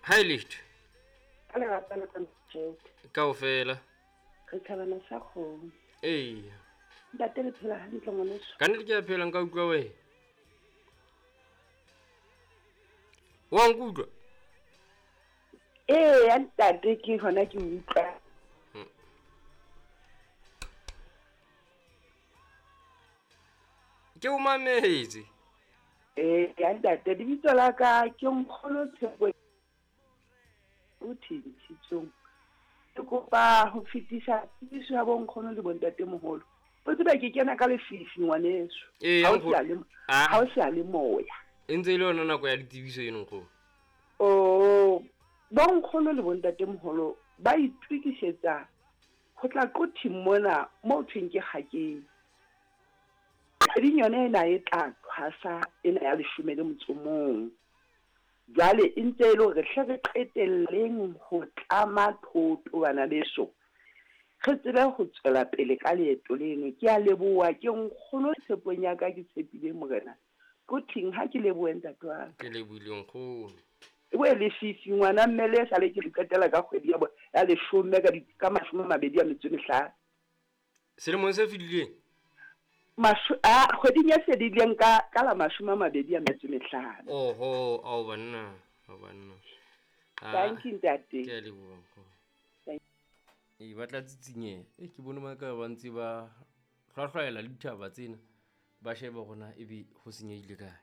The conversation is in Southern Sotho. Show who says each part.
Speaker 1: Ha e letho.
Speaker 2: Ka lerata la ka mojete.
Speaker 1: Kaofela.
Speaker 2: Re thabana sa kgomo.
Speaker 1: Eya.
Speaker 2: Ntate le phela hantle ngwaneso.
Speaker 1: Ka nnete ke a phela nka utlwa wena. Wa nkutlwa?
Speaker 2: Ee, ntate ke hona ke utlwa.
Speaker 1: Ke o mametse.
Speaker 2: Ee, ya ntate, lebitso la ka ke Nkgono Tshepo o thintshitsong. Ke kopa ho fetisa tsebiso ya bonkgono le bontatemoholo. O tsebe ke kena ka lefifi ngwaneso.
Speaker 1: Ee,
Speaker 2: Ha o
Speaker 1: nkgono.
Speaker 2: se a le-
Speaker 1: Ah.
Speaker 2: ha o se a le moya.
Speaker 1: E ntse e le yona nako ya ditsebiso eno nkgono.
Speaker 2: Oh, bonkgono le bontatemoholo ba itokisetsa ho tla Quthing mona mo thweng ke Kgakeng. Kgweding yona ena e tla thwasa ena ya leshome le motso o mong. Jwale e ntse e le hore hle re qetelleng ho tlama thoto bana beso. Re tsebe ho tswela pele ka leeto leno. Ke a leboha ke nkgono tshepong ya ka ke tshepile morena. Quthing ha ke lebohe ntate wa ka.
Speaker 1: Ke lebohile nkgono.
Speaker 2: We lefifi ngwana mme le sale ke le qetela ka kgwedi ya ya leshome ka di ka 25.
Speaker 1: Selemong se fetileng?
Speaker 2: Masho a kgweding e fedileng ka ka la 25.
Speaker 1: Oho, ao banna, ao banna. Ah,
Speaker 2: Thank you ntate.
Speaker 1: Ke a leboha nkgono. Ee, ba tla tsitsinyeha. E ke bone ba ka ba ntse ba hlwahlwaela le dithaba tsena. Ba sheba hore na ebe ho senyehile kae.